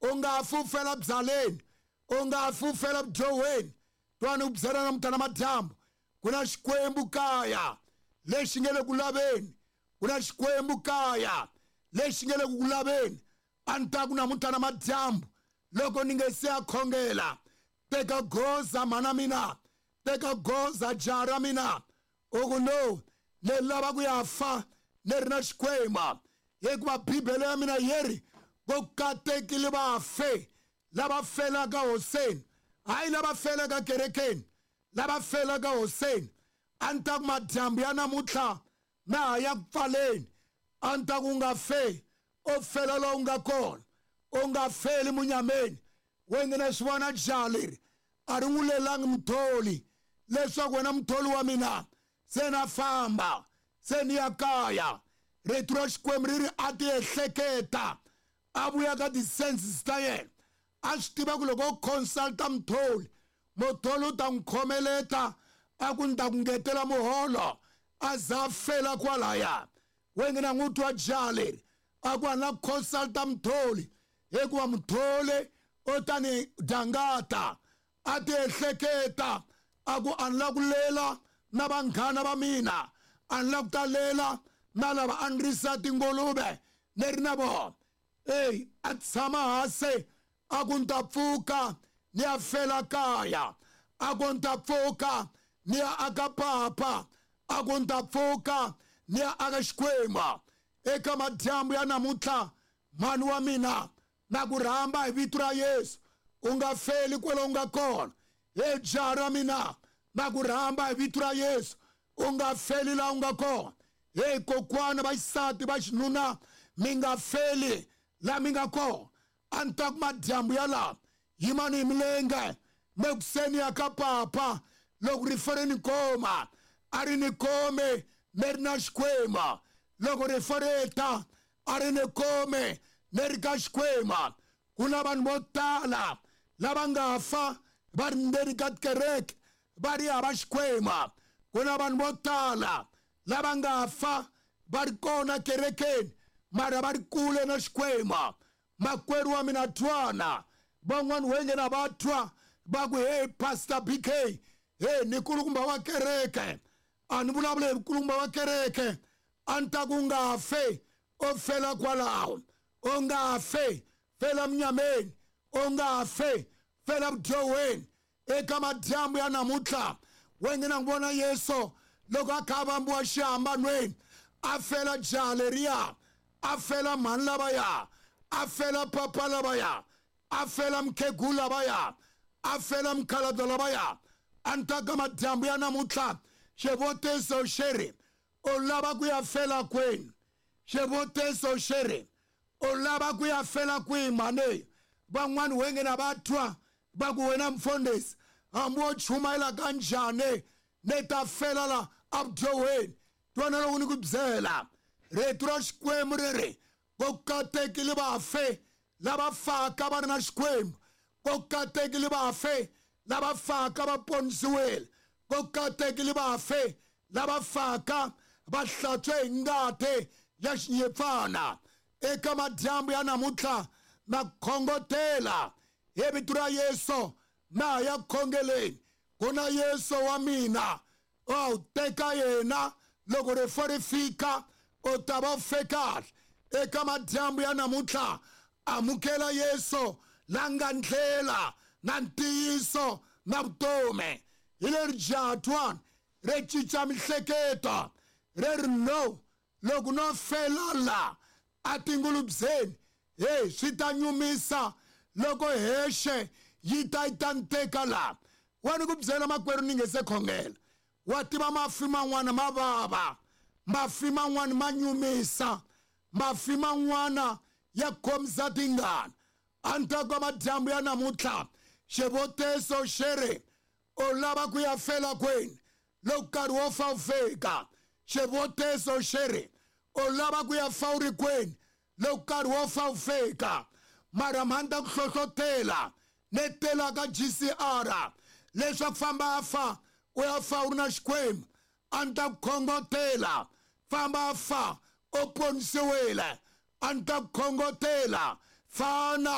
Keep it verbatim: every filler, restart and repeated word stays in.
U nga fi u fela byaleni, u nga fi u fela vudyohweni. Twani ku byela namuntlha na madyambu, ku na Xikwembu kaya lexi nge le ku laveni, ku na Xikwembu kaya lexi nge le ku ku laveni. A ni ta ku namuntlha na madyambu loko ni nge se ya khongela, teka goza mhana mina, teka goza jaha ra mina, u ku no, ni lava ku ya fa ni ri na Xikwembu, hikuva Bibele ya mina yi ri ku katekile vafe lava felaka hoseni, hayi lava felaka kerekeni, lava felaka hoseni. A ni ta ku madyambu ya namuntlha na ha ya ku pfaleni, a ni ta ku nga fe, u fela lowu nga kona, u nga feli munyameni. Wena na swi vona jaha leri a ri n'wi lelangi mutholi leswaku wena mutholi wa mina se na famba, se ni ya kaya. Rito ra Xikwembu ri ri a ti ehleketa, a vuya ka ti-senses ta yena, a swi tiva ku loko o consulta mutholi, mutholi u ta n'wi khomeleta a ku ni ta ku ngetela muholo, a za a fela kwalaya. Wena na n'wi twa jaha leri a ku a na consulta mutholi, hikuva mutholi u ta ni dangata. A ti ehleketa a ku a ni la ku lela na vanghana va mina, a ni la ku ta lela na lava a ni risa tinguluve ni ri na vona. Ey, a tshama hansi a ku ni ta pfuka ni ya fela kaya, a ku ni ta pfuka ni ya aka papa, a ku ni ta pfuka ni ya aka Xikwembu. Eka madyambu ya namuntlha mhani wa mina na ku rhamba hi vito ra Yesu, u nga feli kwala u nga kona. He jaha ra mina na ku rhamba hi vito ra Yesu, u nga feli laha u nga kona. He kokwana va xisati va xinuna, mi nga feli laha mi nga kona. A ni ta ku madyambu ya laha yimani hi milenge mekuseni ya ka papa, loko rifu ri ni koma a ri ni kome ni ri na Xikwembu, loko rifu ri ta a ri ni kome ni ri ka Xikwembu. Ku na vanhu vo tala lava nga fa va ri ndzeni ka tikereke va ri hava Xikwembu. Ku na vanhu vo tala lava nga fa va ri kona kerekeni mara va ri kule na Xikwembu. Makwerhu wa mina twana, van'wani wenge na va twa va ku hey Pastor B K, hey ni kulukumba wa kereke, a ni vulavula hi kulukumba wa kereke, a ni ta ku nga fe o fela kwalaho, o nga fe fela munyameni, o nga fe fela vudyohweni. Eka madyambu ya namuntlha wenge na vona Yesu loko a kha a vambiwa xihambanweni, a fela jaha leriya, a fela mhani lavaya, a fela papa lavaya, a fela mukhegula lavaya, a fela mukhalabye lavaya. A ni ta ka madyambu ya namuntlha xivutiso xi ri u lava ku ya fela kwini? Xivutiso xi ri u lava ku ya fela kwihi mhani? Van'wani wenge na va twa va ku wena mfundhisi hambi wo chumayela kanjhani ni ta fela la evudyohweni. Twana loko ni ku byela, rito ra Xikwembu ri ri ku katekile vafe lava faka va ri na Xikwembu, ku katekile vafe lava faka va ponisiwile, ku katekile vafe lava faka va hlantswe hi ngati ya Xinyimpfana. Eka madyambu ya namuntlha na khongotela hi vito ra Yesu, na ya khongeleni ku na Yesu wa mina, u teka yena loko rifu ri fika u ta va u fe kahle. Eka madyambu ya namuntlha amukela Yesu la nga ndlela na ntiyiso na vutomi. Hi leri jaha twana ri cinca mihleketo, ri ri no, loko no fela la a tingulubyeni, hey swi ta nyumisa loko hexe yi ta yi ta ni teka la. Wa ni ku byela makwerhu ni nge se khongela, wa tiva mafi man'wana ma vava, mafi man'wana ma nyumisa, mafi man'wana ya khomisa tingana. A ni ta ka madyambu ya namuntlha xivutiso xi ri u lava ku ya fela kwini loko nkarhi wo fa wu fika? Xivutiso xi ri u lava ku ya fa u ri kwini loko nkarhi wo fa wu fika? Mara mhani ta ku hlohlotela ni tela ka G C R leswaku famba a fa u ya fa u ri na Xikwembu. A ni ta ku khongotela famba fa u ponisiwile, a ni ta ku khongotela fana